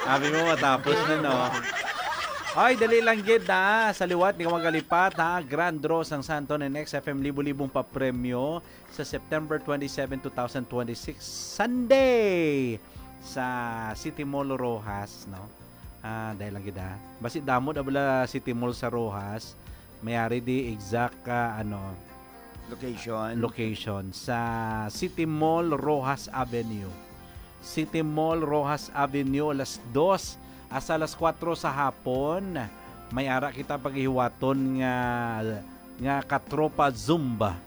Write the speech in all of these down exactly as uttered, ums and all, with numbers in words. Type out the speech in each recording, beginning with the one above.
Abi mo, matapos na, no? Ay, dali lang gid na. Sa liwat, di ka magalipat, ha? Grand draw sang Santon and X F M, libo-libong papremyo sa September twenty-seven, two thousand twenty-six, Sunday, sa City Mall Roxas, no? Ah, dali lang gid, ha? Basi damo na bala City Mall sa Roxas. Mayari di exact, ah, ano, Location. Location sa City Mall, Roxas Avenue. City Mall, Roxas Avenue, alas dos hasta alas kuwatro sa hapon. May ara kita paghihiwaton nga, nga Katropa Zumba.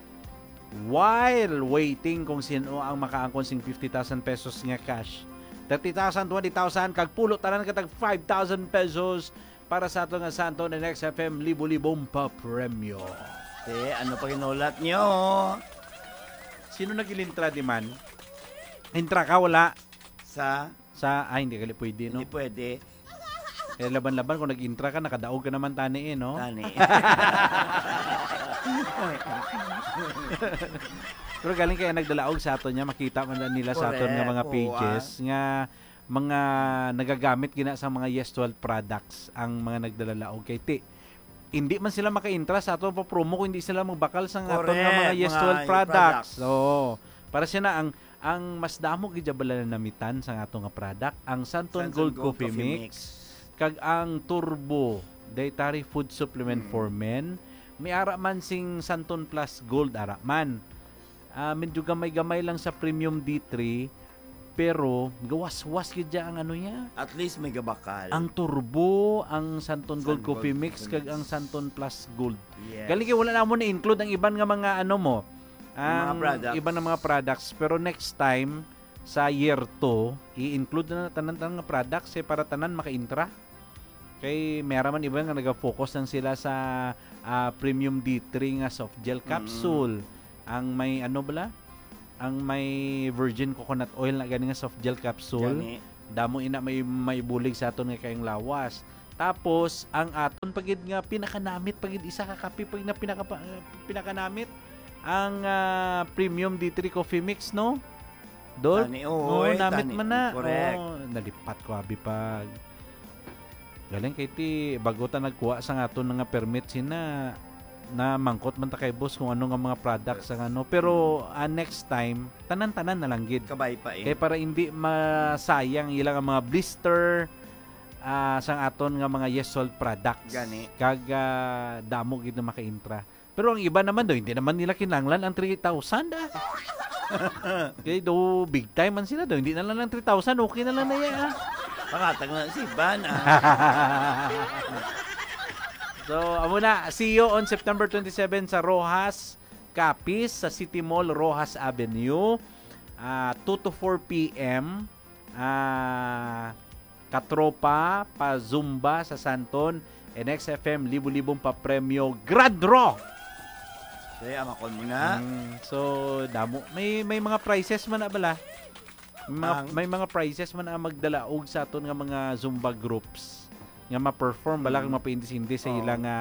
While waiting kung sino ang makaangkon sing fifty thousand pesos nga cash. Thirty thousand, twenty thousand, kag pulo tanan ka tag five thousand pesos para sa ato nga Santon and X F M libo-libong papremyo. Eh, ano pa ginulat nyo? Sino nagilintra di man? Intra ka, wala? Sa? Sa, ay, hindi gali pwede, no? Hindi pwede. Eh, laban-laban kung nag-intra ka, nakadaog ka naman tani eh, no? Tani. Pero galing kaya nagdalaog sa aton niya, makita man lang nila sa aton nga mga Correct, oo, pages ah. Nga mga nagagamit gina sa mga Yes twelve products ang mga nagdalalaog kay ti. Hindi man sila maka-intra sa aton pa promo kung hindi sila magbakal sa aton nga mga Correct, Yes mga twelve products. Products. Oo. Para siya na ang, ang mas damo gid bala na namitan sa ato nga product, ang Santon Santon Gold Gold Coffee Coffee Mix, Mix. Kag ang Turbo Dietary Food Supplement Mm. for Men. May ara man sing Santon Plus Gold ara man. Ah, medyo gamay-gamay lang sa Premium D three, pero gawas-was gid siya ang ano niya. At least may gabakal. Ang Turbo, ang Santon Gold San Coffee Gold Mix Coffee kag Mix. Ang Santon Plus Gold. Yes. Galing kay wala na mo na-include ang iban nga mga ano mo, Ang mga ang products. Iban nga mga products. Pero next time, sa year two, i-include na tanan-tanan nga products eh, para tanan maka-intra. Kay may ara man iba nga naga-focus lang sila sa, ah, premium D three nga soft gel Mm. capsule. Ang may ano bala? Ang may virgin coconut oil na gani nga soft gel capsule. Gani. Damo ina may, may bulig sa aton nga kayong lawas. Tapos, ang aton pagid nga pinakanamit pagid isa ka kape pagid na pinaka, pinakanamit ang, ah, premium D three coffee mix, no? Dol? Tani, oo, Oo, eh, namit tani. man na. Correct. Oo, nalipat ko, abi, pag galing kay ti, bago ta nagkuha sa nga aton nga permit, sina, namangkot man ta kay boss kung ano nga mga products ang ano. Pero, ah, next time, tanan-tanan na lang gid. Kabay pa eh. Kay para hindi masayang ilang ang mga blister, ah, sang aton nga mga Yes Salt products. Gani. Kag, ah, damo gid na maka-intra. Pero ang iba naman daw, hindi naman nila kinahanglan ang three thousand, ah. Kay daw, big time man sila daw. Hindi na lang ng three thousand, okay na lang na yan, ah. Pangatag na si Van, ah. So, amo na. See you on September twenty-seven sa Roxas, Capiz, sa City Mall, Roxas Avenue. Ah, two to four P M. Ah, Katropa, pa Zumba sa Santon, and X F M, libo-libong papremyo, Grand Draw! Kaya, amakon mo na. Mm, so, damo. May, may mga prizes man na bala. May mga, Ang? may mga prizes man ang magdalaog sa aton nga mga Zumba groups nga ma-perform, bala, Mm. kag mapaindis-indis sa Oo. ila nga,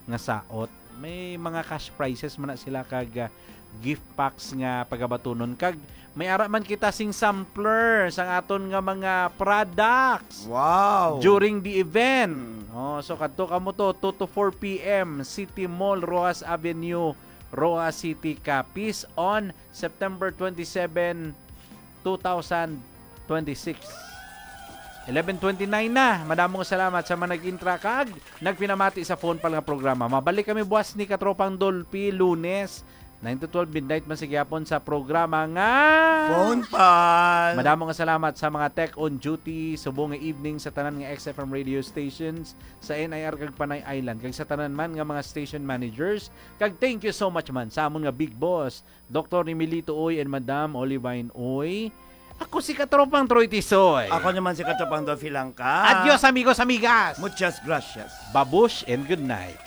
nga saot. May mga cash prizes man na sila kag, ah, gift packs nga pagabatunon. Kag may ara man kita sing sampler sang aton nga mga products Wow! during the event. Mm. Oh, so kadto kamo to, two to four P M, City Mall, Roxas Avenue, Roxas City, Capiz, on September twenty-seven, two thousand twenty-six. Eleven twenty-nine na. Madamong salamat sa mga nag-intra kag nagpinamati sa phone pal nga programa. Mabalik kami buwas ni Katropang Dolphy, Lunes, nine to twelve midnight man sa gihapon sa programa nga Phone Pal. Madamong salamat sa mga tech on duty subong nga evening sa tanan nga X F M radio stations sa N I R kag Panay Island kag sa tanan man nga mga station managers. Kag thank you so much man sa amon nga big boss, Doktor Emilito Uy and Madam Olivine Uy. Ako si Katropang Troy Tisoy. Ako naman si Katropang Dolphy Langka. Adios, amigos, amigas. Muchas gracias. Babush and good night.